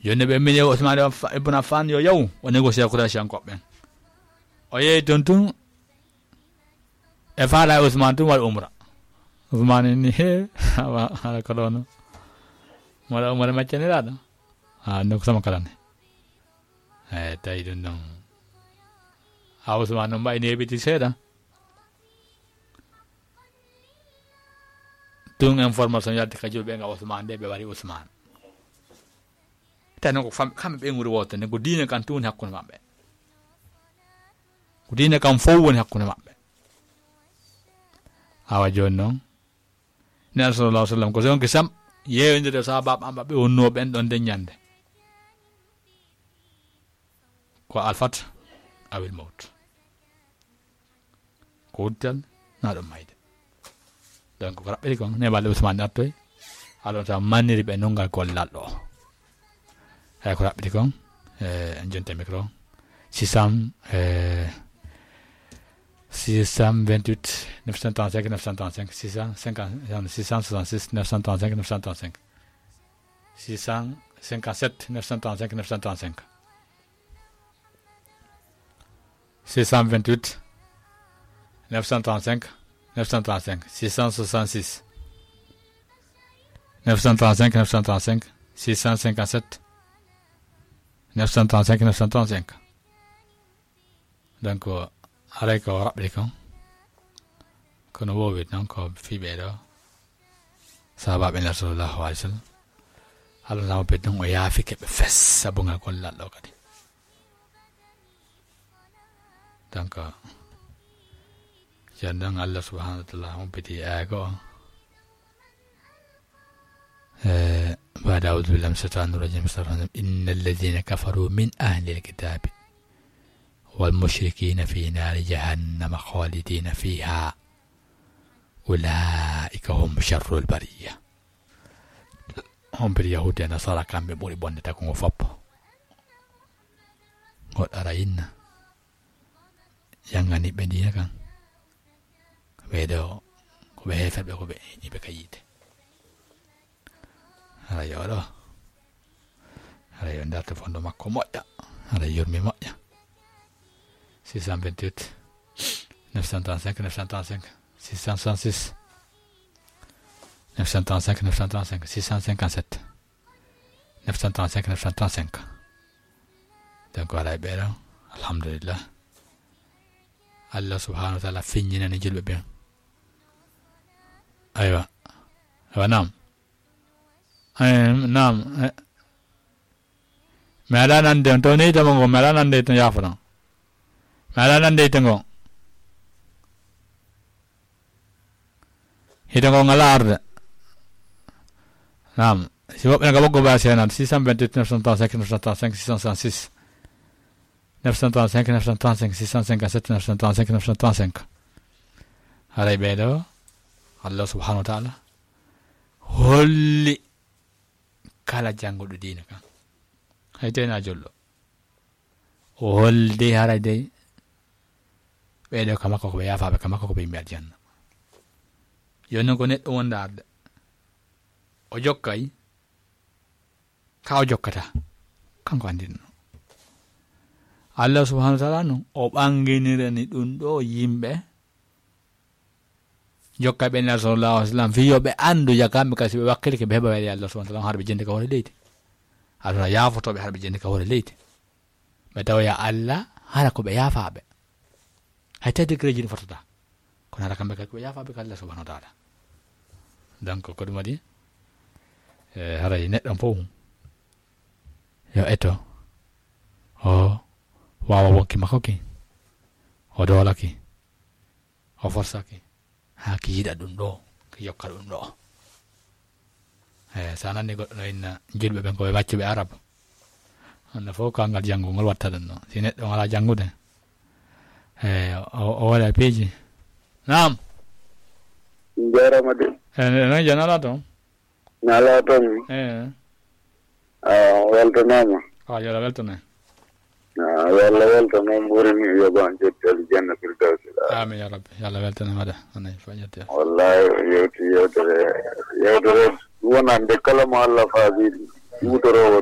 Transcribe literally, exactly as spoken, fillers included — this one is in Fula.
Jooni ɓe mini Ousmane Aff-, Ibn Affan yo yaw, o négocier Quraysh en koɓɓen. O yehi toon tun, e faala e Ousmane tun waɗi umra. Ousmane ni, he, awa, ala ko ɗono. Mala umra maccaniraɗo. Ha, no ko sama kala ne. E, tawi ɗum ɗon. Ha, Ousmane no mbayi ne heɓiti seeɗa. Tun information yalti ka julɓe nga Ousmane de, ɓe wari Ousmane. Tawi noon ko fam-, kamɓe ɓe nguri woote, nden ko diine kan tun woni hakkunde maɓɓe. Ko diine kan fof woni hakkunde maɓɓe. Awa jooni noon, Neɗɗo sallallahu alaihi wasallam, ko so yonki sam, yeeyondire e sahaabaaɓe am ɓe wonnoo ɓen ɗon nden ñande. Ko alfat awil mawt. Ko wuddital, naa ɗum mayde. Donc, ko raɓɓiri kon, ne balɗe Ousmane artoy, alon sa manniri ɓe nungal gollal ɗo. Eyi, ko raɓɓiti kon, e, en jonte micro. Six cents, e, six cent vingt-huit, neuf cent trente-cinq, neuf cent trente-cinq, six cent cinquante, six cent soixante-six, neuf cent trente-cinq, neuf cent trente-cinq. Six cent cinquante-sept, neuf cent trente-cinq, neuf cent trente-cinq. Six cent vingt-huit, neuf cent trente-cinq, neuf cent trente-cinq, six cent soixante-six, neuf cent trente-cinq, neuf cent trente-cinq, six cent cinquante-sept, neuf cent trente-cinq, neuf cent trente-cinq. Donc, haray ko raɓɓiɗi kon. Kono wowi noon ko fii ɓee ɗo. Sahaabaaɓe Nulaaɗo sallallahu alaihi wasallam. Allah na mo ɓe ɗum o yaafike ɓe fes sabu ngal gollal ɗo kadi. Donc, jan ɗon Allah subhanahu wa ta'ala humpiti aya goo. Eh, بعد أعوذ بالله من الشيطان الرجيم. بسم الله الرحمن الرحيم. إن الذين كفروا من أهل الكتاب والمشركين في نار جهنم خالدين فيها أولئك هم شر البرية. Humpiti Yahuudi e Nasaara, kamɓe ɓuri bonde tagungo fop. Goɗɗo ara inna. Yangani ɓe diina kan. Ɓee ɗo, ko ɓe heeferɓe, ko ɓe, iɓe ka yiite. Hara yo ɗo. Hara yo darto fondo makko moƴƴa. Hara yurmi moƴƴa. Six cent vingt-huit, neuf cent trente-cinq, neuf cent trente-cinq, six cent soixante-six, neuf cent trente-cinq, neuf cent trente-cinq, six cent cinquante-sept, neuf cent trente-cinq, neuf cent trente-cinq. Donc, voilà, e ɓeeɗo, alhamdulillah. Allah subhanahu wa ta'ala feññinani julɓe ɓen. Aywa. Aywa, naam. Eh, naam. Eh. Mi alaa nande on, to ni hite mon ngo, mi alaa nande hite yaafoɗon. Mi alaa nande hite ngo. Hite ngo ngalaa arde. Naam. Si woɓɓe ne ka ɓoggo baa seenat, six cent vingt-huit, neuf cent trente-cinq, neuf cent trente-cinq, six cent soixante-six. Neuf cent trente-cinq, neuf cent trente-cinq, six cent cinquante-sept, neuf cent trente-cinq, neuf cent trente-cinq. Haray ɓee ɗo, Allah subhanahu wa ta'ala holli kala jannguɗo diina kan. Hay tena jollo. O holli dey haray dey, ɓee ɗo ka makko ko ɓe yaafaaɓe, ka makko ko ɓe yimɓe aljanna. Yo non ko neɗɗo wonda arde. O jokkay, ka o jokkata, kanko anndinno. Allah subhanahu wa ta'ala no, o ɓanginirani ɗum ɗo yimɓe, jokka ɓe Nulaaɗo sallallahu alaihi wasallam, fii yo ɓe anndu, ya kamɓe kasi ɓe wakkilike, ɓe heɓa weeɗe Allah subhanahu wa ta'ala, hara ɓe jendi ka hoore leydi. Allah yaafotooɓe hara ɓe jendi ka hoore leydi. Ɓe tawoya Allah, hara ko ɓe yaafaaɓe. Hay tawi degré ji ɗi fotata. Kono hara kamɓe kadi ko ɓe yaafaaɓe ka Allah subhanahu wa ta'ala. Donc, ko ɗum waɗi, e, haray neɗɗo fof yo eto, o waawa wonki makko ki, o doolaki, o forsaki, haa ki yiɗa ɗum ɗo, ki yokka ɗum ɗo. E, so a nani goɗɗo no inna julɓe ɓen ko ɓe maccuɓe Arab, on fof ko angal janngo ngol watta ɗum ɗo. Si neɗɗo ngalaa janngude, e, o, o waɗa piiji. Naam. Njaarama de. E, no, no, jana ala toon. Nala toon. E. A weltanaama. A, yo Allah weltane. A, yo Allah weltane, mbuurini, yoɓan jetti aljanna firdawsi. Amin ya rabbi. Yo Allah weltane mada. Anay fa jetti. Wallahi, yewti yewtere, yewtere wonande kala mo Allah faabi, huutoroowo